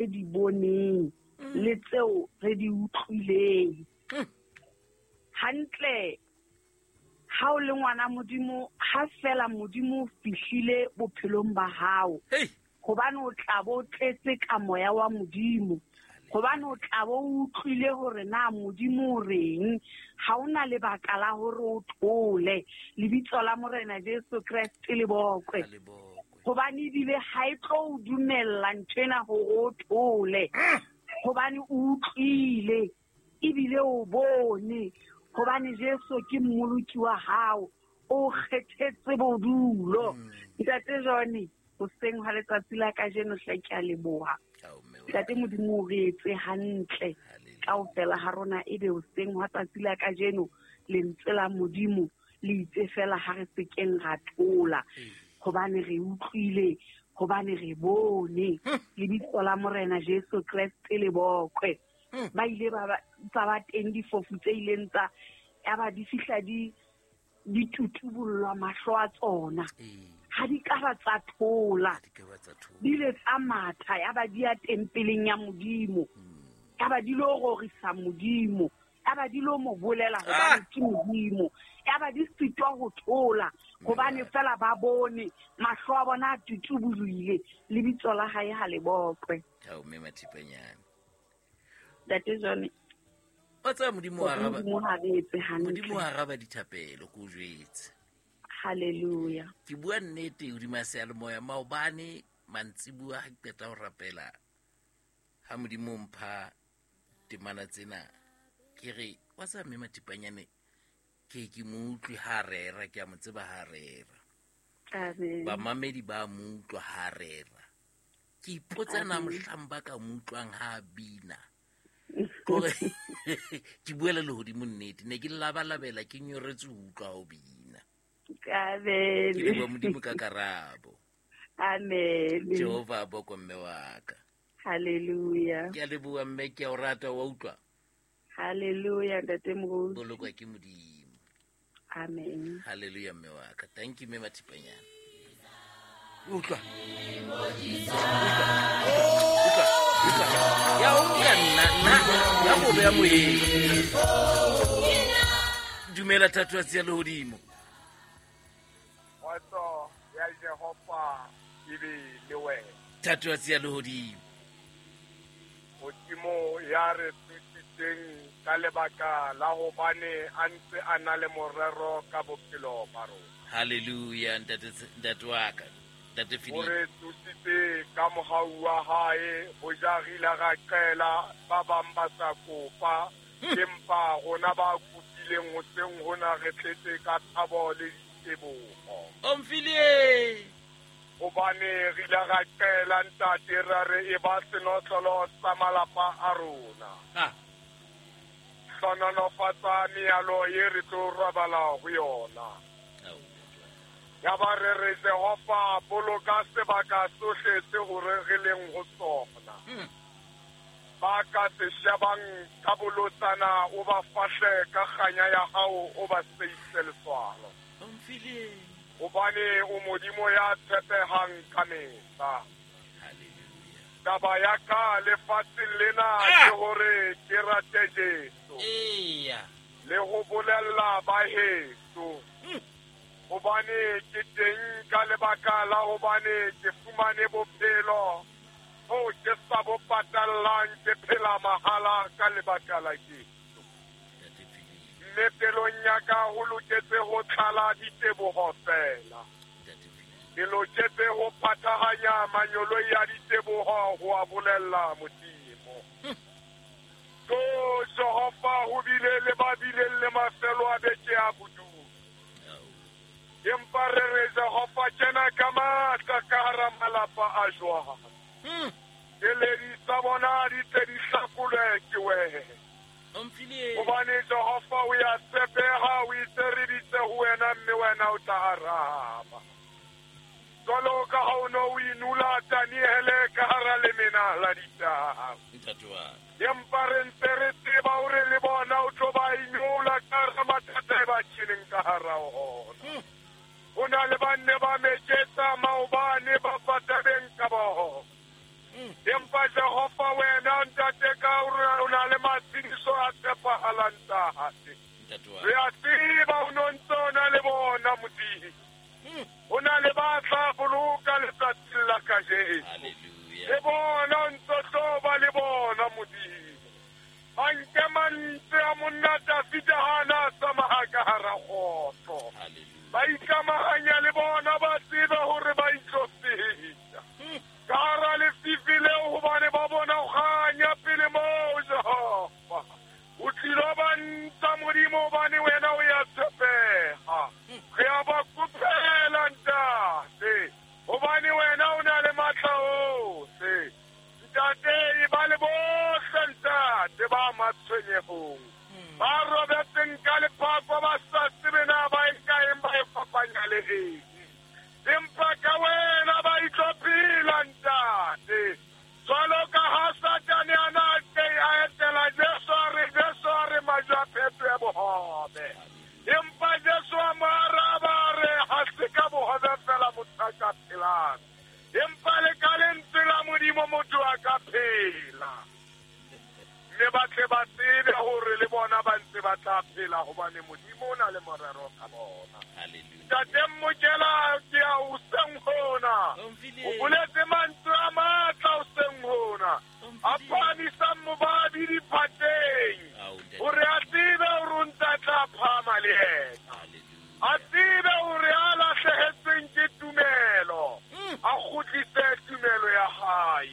re di boneng le tseo re di utlwileng. Hantle ha o le ngwana Modimo, ha fela Modimo o fihlile bophelong ba hao, hobane o tla bo tletse ka moya wa Modimo, hobane o tla bo o utlwile hore na Modimo o reng, ha o na lebaka la hore o thole. Lebitso la Morena Jesu Kreste le bokwe. Hobane ebile ha e tlo o dumella nthwena hore o thole, hobane o utlwile ebile o bone hobane Jesu ke mmoloki wa hao, o kgethetse bodulo. Ntate John, hoseng hwa letsatsi la kajeno hle ke a leboha. Ntate Modimo o re etse hantle kaofela ha rona, ebe hoseng hwa tsatsi la kajeno lentswe la Modimo le itse fela ha re sekeng ra thola, hobane re utlwile, hobane re bone. Lebitso la Morena Jesu Kreste le bokwe. Ba ile ba tsa ba teng difofu tse ileng tsa yaba di fihla di di tutubollwa mahlo a tsona, ha di ka ba tsa thola, di ile tsa matha yaba di ya tempeleng ya Modimo, yaba di lo rorisa Modimo, yaba di lo mo bolela hobane ke Modimo, yaba di sitwa ho thola hobane fela ba bone mahlo a bona a tutubolwile. Lebitso la hae ha le bokwe. Ntate John, o tsaya Modimo wa araba, Modimo ha re etse hantle. Modimo wa araba dithapelo, ko jwetse. Hallelujah. Ke bua nnete hodima seyalemoya maobane mantsibuwa ha ke qeta ho rapela, ha Modimo mpha temana tsena, ke re wa tsaya mme Mathipanyane ke mo utlwe ha rera, ke a mo tseba ha rera. Amen. Bamamedi ba mo utlwa ha rera. Ke ipotsa na mohlang ba ka mo utlwang ha bina. Kore ke buela lehodimo nnete, ne ke labalabela ke nyoretswe ho utlwa ho bina. Amen. Ke leboha Modimo ka karabo. Amen. Jehova a bokwe mme wa ka. Hallelujah. Ke a leboha mme, ke a o rata, wa utlwa? Hallelujah, Ntate Moruti. Bolokwa ke Modimo. Amen. Hallelujah mme wa ka. Thank you mme Mathipanyana. Utlwa. Utlwa. Utlwa. Ya o nka nna nna ya go beya moyeng. Dumela thatohatsi ya lehodimo. Kgotso ya Jehova e be le wena. Thatohatsi ya lehodimo. Modimo ya re thusitseng ka lebaka la hobane a ntse a na le morero ka bophelo ba rona. Hallelujah, ntate wa ka, ntate Philip. O re thusitse ka mohau wa hae, ho ja re ile ra qela ba bang ba sa kopa, empa rona ba kopileng hoseng hona re tletse ka thabo le diteboho. Omfilie! Hobane re ile ra qela ntate ra re e ba senotlolo sa malapa a rona. Hlononofatsa mealo ye re tlo robala ho yona. Ya ba re re Jehova boloka sebaka sohle se hore re leng ho sona. Ba ka se shebang ka bolotsana o ba fahle ka kganya ya hao o ba seise letswalo. Hobane o Modimo ya tshepehang ka mehla. Taba ya ka lefatsheng lena ke hore ke rate Jesu. Le ho bolella ba heso. Hobane ke teng ka lebaka la hobane ke fumane bophelo bo ke sa bo patallang, ke phela mahala ka lebaka la Jesu. Mme pelong ya ka ho loketse ho tlala diteboho fela. Ke loketse ho phathahanya manyoloi a diteboho ho a bolella Modimo. So Jehova ho bile le ba bileng le mafelo a beke a bodulo. Empa re re Jehova kena ka matla ka hara malapa a jwang. Keledi tsa bona di tle di hlakolwe ke wena. Hobane Jehova o ya tshepeha, o itse re bitse ho wena mme wena o tla araba. Jwalo ka ha o no o inula Daniele ka hara lemena la ditau. Empa re ntse re tseba hore le bona o tlo ba inula ka hara mathata e ba tjheleng ka hara ona. Ho na le ba nne ba meketsa maobane ba patabeng ka bona. Empa Jehova wena ntate ka o na le matshediso a tshepahalang ntate. Re a tseba o no ntse o na le bona Modimo. O na le ba tla boloka letsatsing la kajeno. Le bona o ntse tlo ba le bona Modimo. A nke mantswe a monna Dafida ha na a tsamaya ka hara kgotso. Ba ikamahanya le bona ba tsebe hore ba itlo feta. Ka hara lefifi leo hobane ba bona o kganya pele moo Jehova. O tlilo ba ntsha Modimo hobane wena o ya tshepeha. Re a ba kopela ntate hobane wena o na le matla ohle. Ntate e ba le bohle ntate ba matshwenyehong. Ba robetseng ka lephako ba sa tsebe na ba e kaeng ba e fapanya le eng. Empa ka wena ba itlo phela ntate. Jwalo ka ha Satane a na a etela Jesu a re Jesu a re majwe a phetohe bohobe. Empa Jesu a mo araba a re ha se ka bohobe fela motho a ka phelang. Empa le ka lentswe la Modimo motho a ka phela. Mme ba tle ba tsebe hore le bona ba ntse ba tla phela hobane Modimo o na le morero ka bona. Ntate Mokela ke a o seng hona. O boletse mantswe a matla o seng hona. A phahamisang mobabi diphateng. Hore a tsebe hore o ntse a tla phahama le yena. A tsebe hore a lahlehetsweng ke tumelo. A kgutlise tumelo ya hae.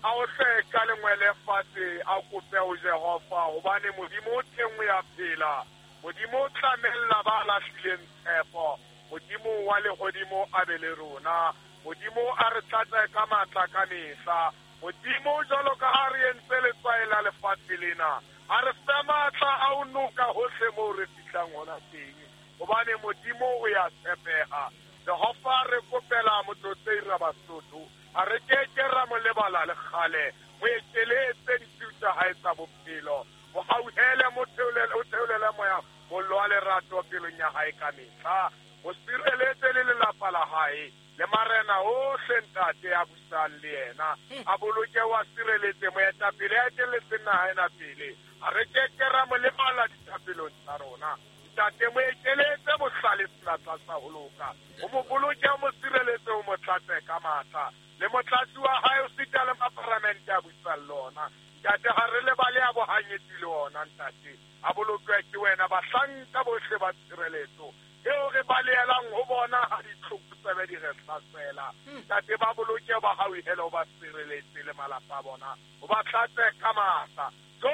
A o hle ka lengwele fatshe a kope ho Jehova hobane Modimo o teng o ya phela. Modimo o tlamella ba lahlileng tshepo. Modimo wa lehodimo a be le rona. Modimo a re tlatse ka matla ka mehla. Modimo jwalo ka ha re entse letswai la lefatshe lena. A re fe matla a ho noka hohle moo re fihlang hona teng. Hobane Modimo o ya tshepeha. Jehova re kopela motlotlei ra Basotho. A re keke ra mo lebala le kgale. Mo ekeletse ditshiu tsa hae tsa bophelo. Mo hauhele mo theolele moya mollo wa lerato pelong ya hae ka mehla. Mo sireletse le lelapa la hae. Le marena ohle ntate a busang le yena. A boloke wa sireletse moetapele a etelletseng naha ena pele. A re keke ra mo lebala dithapelong tsa rona. Ntate mo ekeletse bohlale senatla sa ho loka. O mo boloke o mo sireletse o mo tlatse ka matla. Le motlatsi wa hae o sita le maparamente a busang le ona. Ntate ha re lebale a bohanyetsi le ona ntate. A bolokwe ke wena bahlanka bohle ba tshireletso. Eo re balehelang ho bona ha ditlhokotsebe di re hlasela. Ntate ba boloke ba hauhele o ba sireletse le malapa a bona. O ba tlatse ka matla. So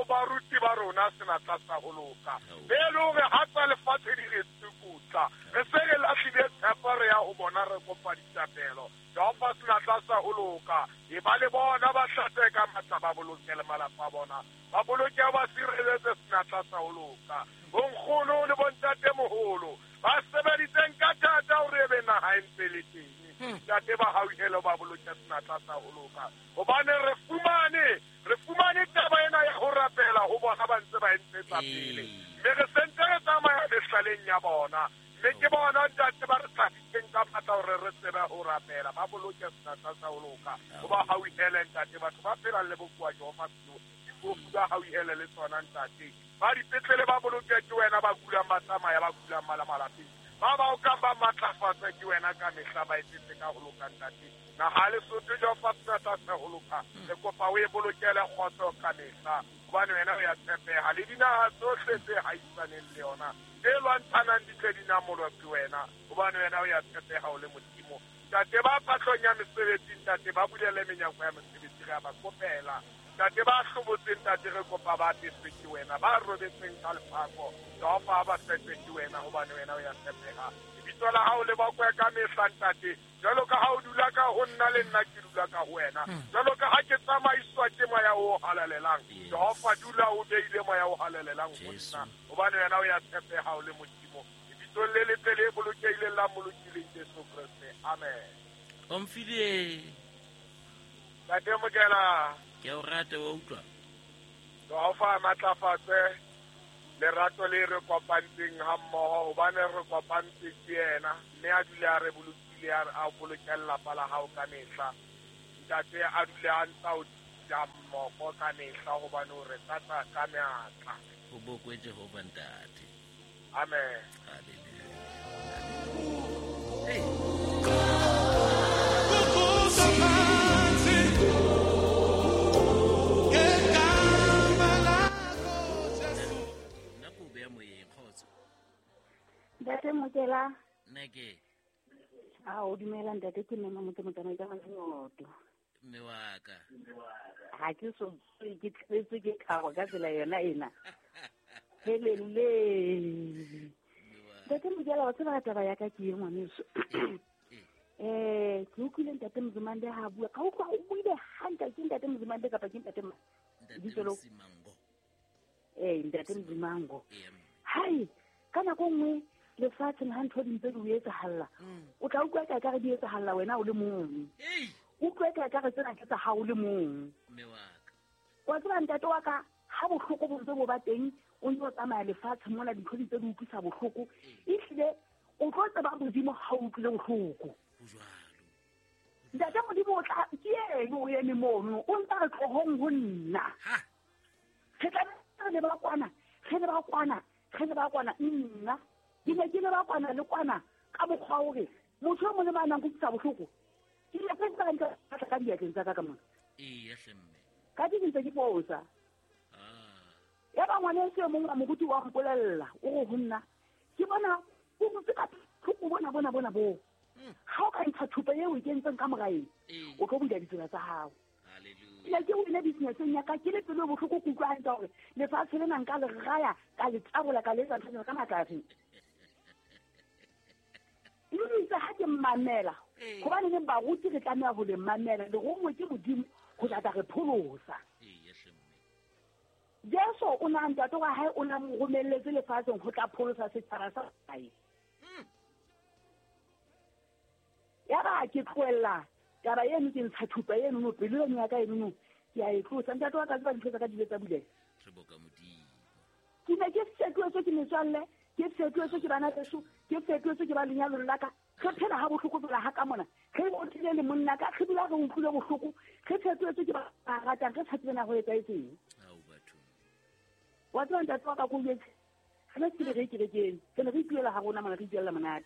baruti ba rona senatla sa ho loka. Be le hore ha tsa lefatshe di re tsukutla. Re se re lahlile tshepo re ya ho bona re kopa dithapelo. Jehova senatla sa ho loka. E ba le bona ba tlatse ka matla ba boloke le malapa a bona. Ba boloke ba sireletse senatla sa ho loka. Bonkgono le bontate moholo ba sebeditseng ka thata hore e be naha e ntse le teng. Ntate ba hauhele ba boloke senatla sa ho loka. Hobane re fumane taba ena ya ho rapela ho bona ba ntse ba e ntshetsa pele. Mme re sentse re tsamaya mehlaleng ya bona. Mme ke bona ntate ba re tlhahisitseng ka matla hore re tsebe ho rapela. Ba boloke senatla sa ho loka. Ho ba hauhele ntate batho ba phelang le bokowa Jehova difofu ba hauhele le tsona ntate. Ba dipetlele ba boloke ke wena ba kulang ba tsamaya ba kulang ba la malapeng. Ba ba okang ba matlafatsa ke wena ka mehla ba etsetse ka ho loka ntate. Naha Lesotho Jehova senatla sa ho loka. Re kopa o e bolokele kgotso ka mehla. Hobane wena o ya tshepeha. Le dinaha tsohle tse haisaneng le yona. Tse lwantshanang di tle di namolwe ke wena. Hobane wena o ya tshepeha o le Modimo. Ntate ba patlong ya mesebetsi ntate ba bulele menyako ya mesebetsi re a ba kopela. Ntate ba hlobotseng ntate re kopa ba apeswe ke wena. Ba robetseng ka lephako Jehova ba fepwe ke wena hobane wena o ya tshepeha. Lebitso la hao le bakwe ka mehla ntate. Jwalo ka ha o dula ka ho nna le nna ke dula ka ho wena. Jwalo ka ha ke tsamaiswa ke moya o halalelang. Jehova dula o beile moya o halalelang ho nna. Hobane wena o ya tshepeha o le Modimo. Lebitsong le letle le bolokehileng la molokileng Jesu Kreste. Amen. Omphile. Ntate Mokela. Ke o rata wa utlwa. Jehova a matlafatse lerato le re kopantseng ha mmoho hobane re kopantse ke yena mme a dule a re bolokile a boloke lelapa la hao ka mehla. ntate a dule a ntsa o ja mmoko ka mehla hobane o re tlatsa ka meatla. Ho bokwe Jehova ntate. Amen. Hallelujah. Hey. Nna ko beya moyeng kgotso. Ntate Mokela. Nna ke. A o dumela ntate, ke mme motse motsamai ka Mazingoto. Mme wa ka. Ha ke so ke tletse ke khago ka tsela yona ena. Helele. Ntate Mokela, wa tseba taba ya ka ke e ngwaneso. Ke utlwile ntate Mzimande ha bua. Ka utlwa o buile hantle ke ntate Mzimande kapa ke ntate Ntate Msimango. Ntate Msimango. Hai, ka nako nngwe lefatsheng ha ntho di ntse di o etsahalla. O tla utlwa ka re di etsahalla wena o le mong. Utlwe ka re tsena ke tsa hao o le mong. Mme wa ka. Wa tseba ntate wa ka, ha bohloko bo ntse bo ba teng, o ntse o tsamaya lefatshe mona dintho di ntse di utlwisa bohloko. Ehlile o tlo tseba Modimo ha o utlwile bohloko. Ho jwalo. Ntate Modimo o tla ke eno o eme mono, o ntse re tlohong ho nna. Re tla re ba kwana, re le ba kwana, re le ba kwana nna. Ke ne ke le ba kwana le kwana ka mokgwa hore motho o mong le mang a nang kutlwisa bohloko. Ke ile ka tseba ntle ka diatleng tsa ka ka mona. Eya hle mme. Ka di ntse ke fosa. Ya ba ngwaneso e mong wa moruti wa mpolella, o re ho nna, ke bona o ntse ka tlhoko bona bona bona bo. Ha o ka ntsha thupa eo e kentseng ka moraeng, o tlo bula ditsela tsa hao. Hallelujah. Ke ne ke wine business-eng ya ka, ke le pelo bohloko ke utlwa hantle hore lefatshe lena nka le raya, ka le tsabola, ka le etsa ntho ka matla afe. Itse ha ke mmamela, hobane neng baruti re tlameha ho le mamela, le rongwe ke Modimo ho tla re pholosa. Jesu o na ntate wa hae o na mo romelletse lefatsheng ho tla pholosa setjhaba sa hae. Ya ba ke tlohella taba eno, ke ntsha thupa eno no pelo eno ya ka eno no ke a e tlosa. Ntate wa ka tseba dintho tsa ka di ile tsa buleha. Re boka Modimo. Ke ne ke fetotswe ke metswalle, ke fetotswe ke bana beso, ke fetotswe ke ba lenyalong la ka. Re phela ha bohloko jwala ha ka mona. Re otlile le monna ka, re dula re utlwile bohloko, re fetotswe ke ba ratang, re sa tsebe na ho etsahetseng. Ao batho. Wa tseba ntate wa ka ko jwetse, re ne se re kerekeng, re ne re ituela ha rona mona, re ituela monate.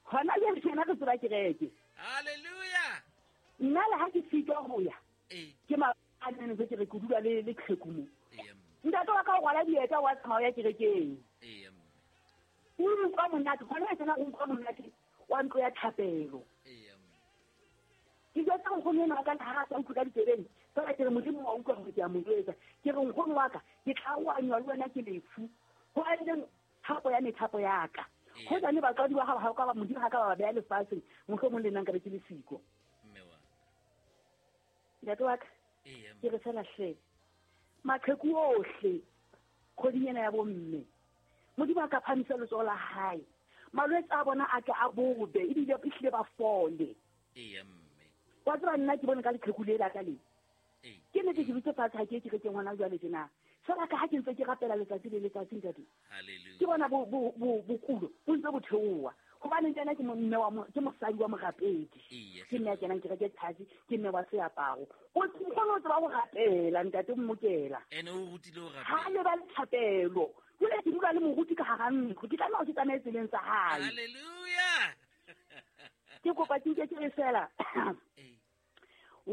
Hona jwale ke re tseba kereke. Hallelujah. Nna le ha ke sitwa ho ya. Ke maanene ke re ke dula le qheku mo. Ntate wa ka o rwala dieta wa tsamaya ya kerekeng. O utlwa monate, hona tsena o utlwa monate wa ntlo ya thapelo. Ke jwetsa nkgono ena wa ka ha a sa utlwe ka ditsebeng, fela ke re Modimo wa utlwa hore ke a mo jwetsa. Ke re nkgono wa ka, ke tla oanywa le wena ke lefu. Ho aleng thapo ya methapo ya ka. Ho jane batswadi ba hao ha ka ba Modimo ha ka ba beha lefatsheng, mohlomong le nna nka be ke le siko. Mme wa. Ntate wa ka, ke re fela hle. Maqheku ohle kgweding ena ya bomme, Modimo a ka phamisa letsoho la hae. Malwetse a bona a tle a bobe, ebile ehlile ba fole. Wa tseba nna ke bone ka leqheku le la ka le. Ke ne ke dutse fatshe ha ke kerekeng hona jwale tjena. Fela ka ha ke ntse ke rapela letsatsi le letsatsi ntate. Hallelujah. Ke bona bokulo bo ntse bo theoha. Hobane nna ke mme wa ke mosadi wa morapedi. Ke mme ya kenang kereke tsatsi, ke mme wa seaparo. O kgona ho tseba ho rapela ntate Mokela. Ene o rutile ho rapela. Ha le ba le thapelo. Jwale ke dula le moruti ka hara ntlo. Ke tlameha ke tsamaye tseleng tsa hae. Hallelujah. Ke kopa ke nke ke re fela.